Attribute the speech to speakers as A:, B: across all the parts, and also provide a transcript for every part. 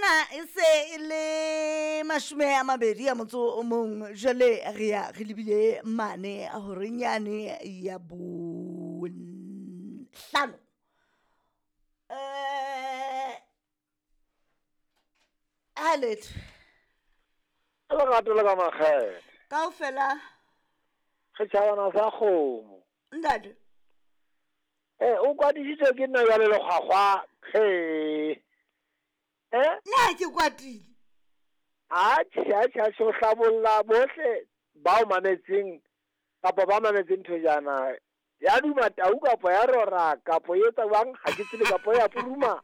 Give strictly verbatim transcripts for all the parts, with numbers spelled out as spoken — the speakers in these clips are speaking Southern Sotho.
A: Ena e se e le mashome a mabedi a motso o mong, jwale re ya re lebile mane horeng yane ya bohlano. Um ha letho
B: lerato le ka makgethe
A: kaofela
B: setšhabana sa kgomo.
A: Ntate
B: Eh, o kwadisitswe ke nna jwale lekgwakgwa he. Eh?
A: Nna ke kwatile.
B: Atjhe, atjhe, atjhe, o hlabolla bohle ba o mametseng kapa ba mametseng thojana. Ya duma tau kapa ya rora kapa e etsa jwang, ha ke tsebe, kapa ya puruma.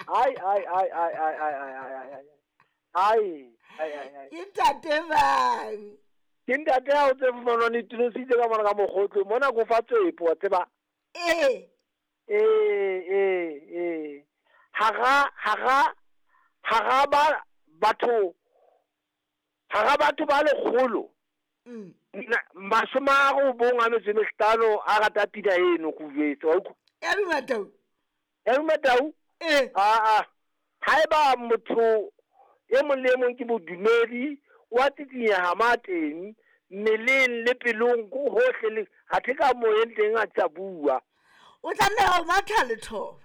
B: Ai, ai, ai, ai, ai, ai, ai, ai, ai, ai. Ai, ai, ai, ai.
A: Ke ntate bang?
B: Ke ntate ya o tse fumanwang le tunositse ka mona ka mokgotlo. Mona ko fa tsepo, wa tseba.
A: Ee.
B: Ee, ee, ee. Hara, hara, hara ba batho, hara batho ba lekgolo.
A: Mm.
B: Mashome a robong a metso e mehlano a rata pina eno ko jwetse, wa utlwa?
A: Ya duma tau.
B: Ya duma tau?
A: Ee.
B: Ah, ah. Haeba motho e mong le e mong ke modumedi, wa tsikinyeha ma teng, mmeleng le pelong ko hohle le athe ka moyeng teng a tsa bua.
A: O tlameha ho matha lethoba.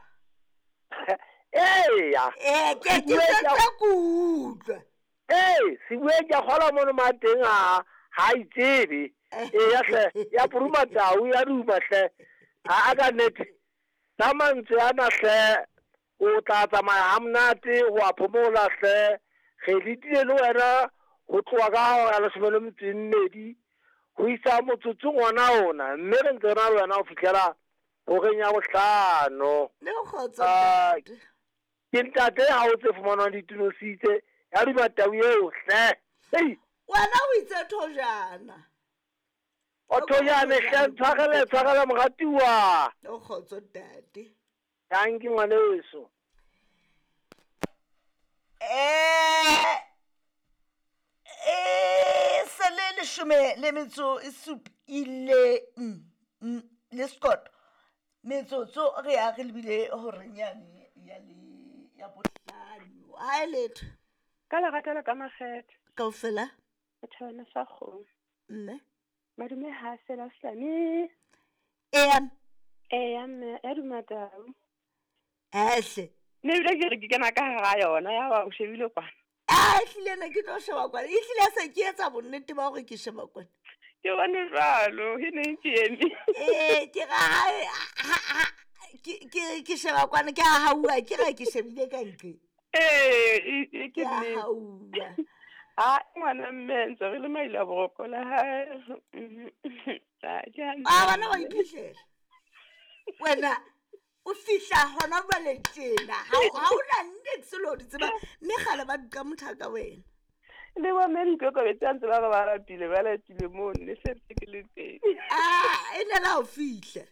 B: Eya.
A: Eh, ke ke
B: Sebue
A: tla
B: ke a-
A: ko utlwa.
B: Ee, sebue ke a kgolwa mono ma teng ha ha itsebe. Eya hle, ya puruma tau, ya duma hle. Ha a ka nnete. Ka mantswe ana hle, o tla tsamaya ha monate, ho a phomola hle. Re letile le wena ho tloha ka hora ya leshome le metso e mmedi ho isa motsotsong ona ona, mme re ntse re na le wena ho fihlela horeng ya bohlano.
A: Le kgotso,
B: Ah,
A: ntate.
B: Ke ntate ha o tse fumanwang ditunositse, ya duma tau eo hle. Hei.
A: Wena o itse thojana.
B: O thojane hle, tshwarele, tshwarele moratuwa.
A: Le kgotso, ntate.
B: Dankie ngwaneso.
A: Eh, eh, se le leshome le metso e supileng, mm, le sekoto. Metsotso re ya re lebile horeng yane ya le, ya bohlano. Ha e letho.
C: Ka lerato le ka makgethe.
A: Kaofela?
C: Setjhabana sa kgomo.
A: Mme.
C: Madume ha fela Slami.
A: Eya.
C: Eya mme, ya duma tau.
A: Ehle.
C: Nne ebile ke re ke kena ka hara yona, ya ba o shebile kwana.
A: Ah, ehlile ne ke tlo sheba kwana. Ehlile se ke etsa bonnete ba hore ke sheba kwana.
C: Ke bone jwalo, e ne ke eme.
A: Eh, ke ra ha, ha, ha, ke, ke, ke sheba kwana, ke a hauwa, ke ra ke shebile ka ntle.
C: Eh, e, e, ke
A: Ke a
C: nnete.
A: hauwa.
C: Ah, ngwana mme, ntse re le maile a boroko la hae. Ah, ke hantle.
A: Ah, bana ba iphihlele. Wena o fihla hona jwale tjena. Ha o, ha o na niks le ho di tseba, mme kgale ba duka motho ka wena.
C: Le bo mme dikokobetsi a ntse ba re ba lapile, ba lapile mono, ne se ntse ke le teng.
A: Ah, e ne la ho fihla.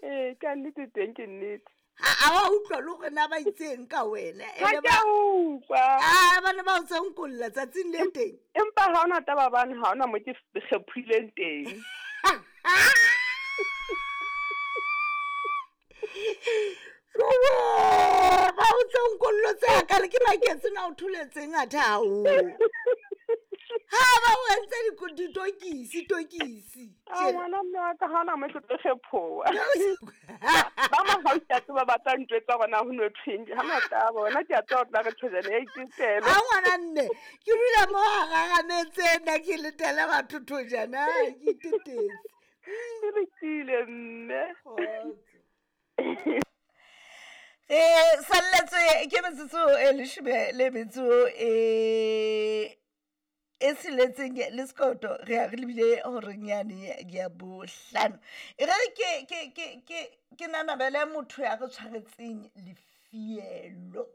C: Eh, ka nnete teng ke nnete.
A: Ha, ha wa utlwa le hore na ba itseng ka wena. E
C: Ha
A: ne
C: ke
A: ba
C: a utlwa.
A: Ah, ba ne ba o tsonkolla tsatsing le teng.
C: Empa ha hona taba bane, ha hona mo ke kgephileng teng.
A: Jowe, ba o tsonkollo tse hakale ke maketse na o tholetseng athe haholo. Ha ba o entse diko-, ditokisi, tokisi.
C: Ah, ngwana mme wa ka ha hona mo ke tlo kgephoha. Ba mahausi a tseba ba tla ntjwetsa hore na ho no thweng, ha hona taba, wena ke a tseba hore tla re thojana ya itetela.
A: Ha ngwana mme, ke dula mo hararametse nna ke letela batho thojana, ke itetetse.
C: Ke lokile mme.
A: Kgotso. Re salletswe ke metsotso e leshome le metso e, e tsheletseng le sekoto, re ya re lebile horeng yane ya bohlano. E re ke, ke, ke, ke, ke nanabele motho ya re tshwaretseng lefielo.